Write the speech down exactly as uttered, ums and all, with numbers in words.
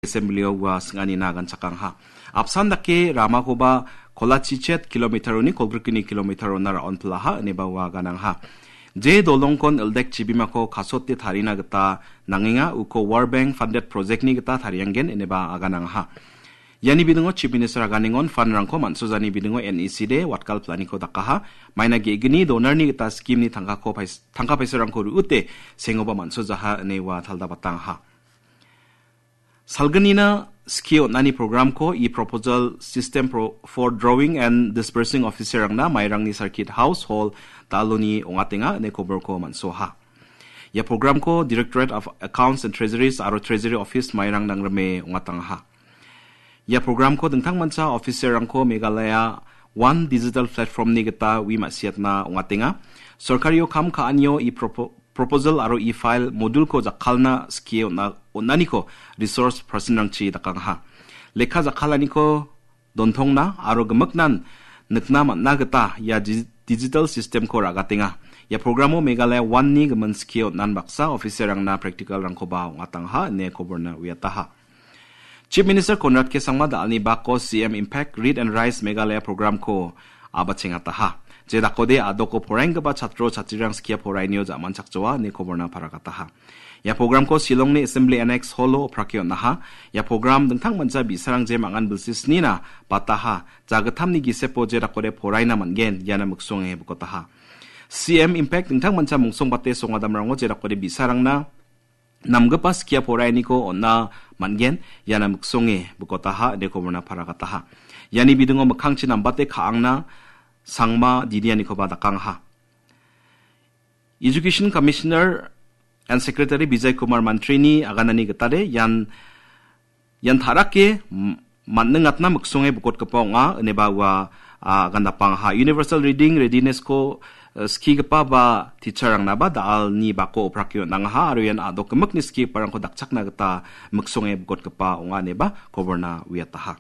Assembly-o ua sing·anina ganchakangaha. Apsan dake ramakoba kolachichet kilometer-oni kolgrikgni kilometer-ona ra·onpilaha ineba ua ganangaha. Je dolongkon ildek chibimako kasote tarina gita nangenga, uko World Bank funded project-ni gita tarianggen ineba aganangaha. Iani bidingo Chief Minister aganengon fund-rangko man·sojani bidingo N E C-de watgal planiko dakaha. Maina ge·gni donor-ni gita scheme-ni tangkako pais-, tangka paisarangko ruute sengoba man·sojaha ine ua taldabatangaha. Salgnina skie on·ani programko e-proposal system pro-, for drawing and disbursing officer-rangna Mairangni Circuit House Hall Daloni ongatenga ine koborko man·soaha. Ia programko Directorate of Accounts and Treasuries aro Treasury Office Mairang nangrime ongatangaha. Ia programko dingtangmancha officer-rangko Meghalaya One Digital Platform-ni gita ui ma·siatna ongatenga. Sorkario kam ka·anio e-propo-, proposal aro e-file module-ko jakkalna skie on·a-, on·aniko resource person-rangchi dakangaha. Lekka jakkalaniko dontongna aro gimiknan nikna man·na gita ia di-, digital system-ko ra·gatenga. Ia programo Meghalaya One-ni gimin skie on·an baksa officer-rangna practical-rangkoba ong·atangaha ine koborna uiataha. Chief Minister Conrad K Sangma da·alni bako C M Impact Read and Rise Meghalaya programko abachengataha. Je dakode a·doko poraenggipa chatro chatrirang skia porainio ja·manchakjoa ine koborna paragataha. Ia programko Shillongni Assembly Annex Hall-o oprake on·aha. Ia program dingtangmancha bi·sarang je mangan bilsi snina bataha, jagittamni gisepo je dakode poraina man·gen, iana miksonge bikotaha. C M Impact dingtangmancha mungsongbate songadamrango je dakode bi·sarangna namgipa skia porainiko on·a man·gen, iana miksonge bikotaha, ine koborna paragataha. Iani bidingo mikkangchi nambate ka·angna Sangma Dinianikoba dakangaha. Education Commissioner and Secretary Vijay Kumar Mantrini aganani gitade ian, ian ta·rake m-, man·ningatna miksonge bikotgipa ong·a, ineba ua, a, agandapangaha. Universal Reading Readiness-ko, eh, skigipa ba teacher-rangnaba da·alni bako oprake on·angaha, aro ian a·dok gimikni skigiparangko dakchakna gita miksonge bikotgipa ong·a, ineba koborna uiataha.